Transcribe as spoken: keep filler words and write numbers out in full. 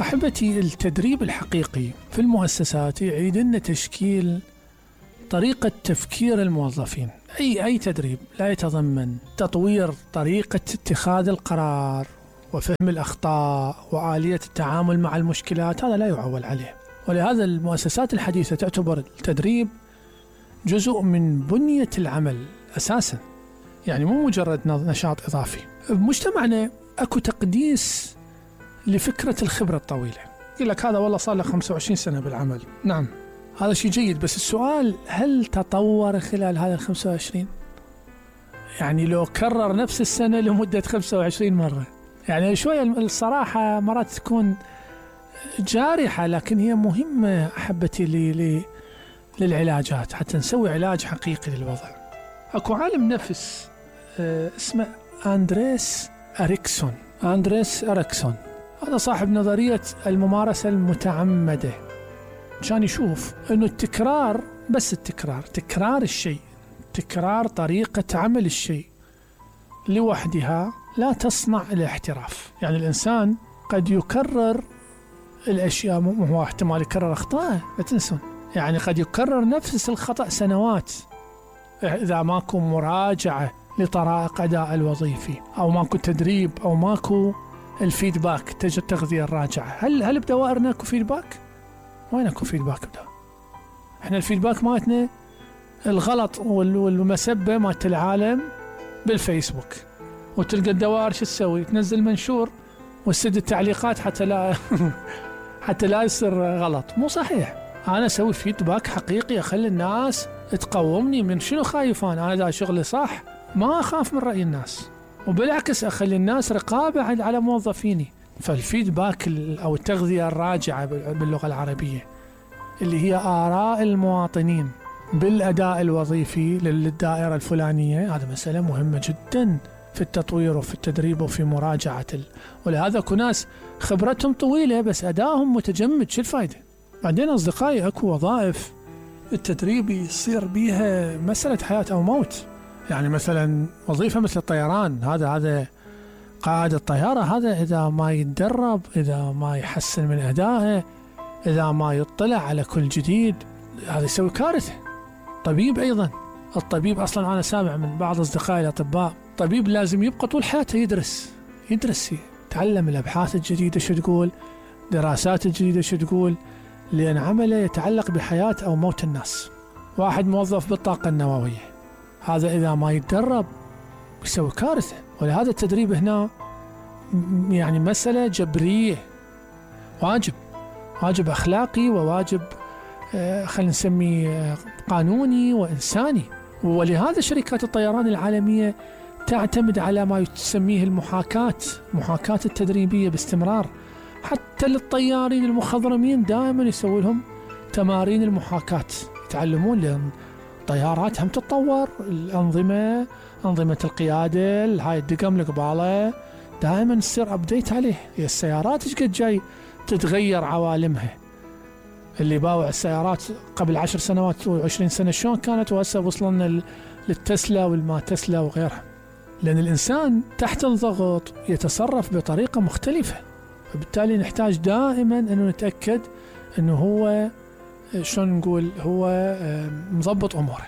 أحبتي، التدريب الحقيقي في المؤسسات يعيد لنا تشكيل طريقة تفكير الموظفين. أي أي تدريب لا يتضمن تطوير طريقة اتخاذ القرار وفهم الأخطاء وآلية التعامل مع المشكلات، هذا لا يعول عليه. ولهذا المؤسسات الحديثة تعتبر التدريب جزء من بنية العمل أساسا، يعني مو مجرد نشاط إضافي. بمجتمعنا أكو تقديس لفكرة الخبرة الطويلة، يقول لك هذا والله صار له خمسة وعشرين سنة بالعمل. نعم، هذا شيء جيد، بس السؤال هل تطور خلال هذا الخمسة وعشرين؟ يعني لو كرر نفس السنة لمدة خمسة وعشرين مرة، يعني شوية الصراحة مرات تكون جارحة، لكن هي مهمة أحبتي لي للعلاجات حتى نسوي علاج حقيقي للوضع. أكو عالم نفس اسمه أندريس أريكسون أندريس أريكسون هذا صاحب نظرية الممارسة المتعمدة. كان يشوف أنه التكرار، بس التكرار تكرار الشيء، تكرار طريقة عمل الشيء لوحدها لا تصنع الاحتراف. يعني الإنسان قد يكرر الأشياء، مو هو احتمال يكرر أخطاء، لا تنسون، يعني قد يكرر نفس الخطأ سنوات إذا ماكو مراجعة لطرائق أداء الوظيفي، أو ماكو تدريب، أو ماكو الفيدباك، تجد التغذية الراجعة. هل هل بدوائرنا اكو فيدباك؟ وين اكو فيدباك بدا؟ احنا الفيدباك مالتنا الغلط والمسبة مالت العالم بالفيسبوك، وتلقى الدوائر شو تسوي؟ تنزل منشور وتسد التعليقات حتى لا حتى لا يصير غلط. مو صحيح. انا اسوي فيدباك حقيقي، اخلي الناس تقومني. من شنو خايف انا؟ انا اذا شغلي صح ما اخاف من رأي الناس، وبالعكس أخلي الناس رقابة على موظفيني. فالفيدباك أو التغذية الراجعة باللغة العربية اللي هي آراء المواطنين بالأداء الوظيفي للدائرة الفلانية، هذا مسألة مهمة جدا في التطوير وفي التدريب وفي مراجعة ال... ولهذا أكو ناس خبرتهم طويلة بس أدائهم متجمد. شو الفائدة؟ بعدين أصدقائي، أكو وظائف التدريب يصير بيها مسألة حياة أو موت. يعني مثلا وظيفة مثل الطيران، هذا هذا قائد الطيارة، هذا إذا ما يتدرب، إذا ما يحسن من أدائه، إذا ما يطلع على كل جديد، هذا يسوي كارثة. طبيب أيضا، الطبيب أصلا أنا سامع من بعض أصدقائي الأطباء، طبيب لازم يبقى طول حياته يدرس يدرس يتعلم الأبحاث الجديدة شو تقول، دراسات الجديدة شو تقول، لأن عمله يتعلق بحياة أو موت الناس. واحد موظف بالطاقة النووية، هذا إذا ما يتدرب يسوي كارثة. ولهذا التدريب هنا يعني مسألة جبرية، واجب واجب أخلاقي، وواجب خلينا نسميه قانوني وإنساني. ولهذا شركات الطيران العالمية تعتمد على ما تسميه المحاكاة محاكاة التدريبية باستمرار. حتى للطيارين المخضرمين دائما يسوي لهم تمارين المحاكاة، يتعلمون، لأن الطيارات هم تتطور، الأنظمة أنظمة القيادة، هاي الدقم القبالة دائما تصير أبديت عليه. هي السيارات ايش قد جاي تتغير عوالمها. اللي باوع السيارات قبل عشر سنوات وعشرين سنة شلون كانت، وهسه وصلنا للتسلا والما تسلا وغيرها. لأن الإنسان تحت الضغط يتصرف بطريقة مختلفة، فبالتالي نحتاج دائما أنه نتأكد أنه هو شلون نقول هو مضبط أموره.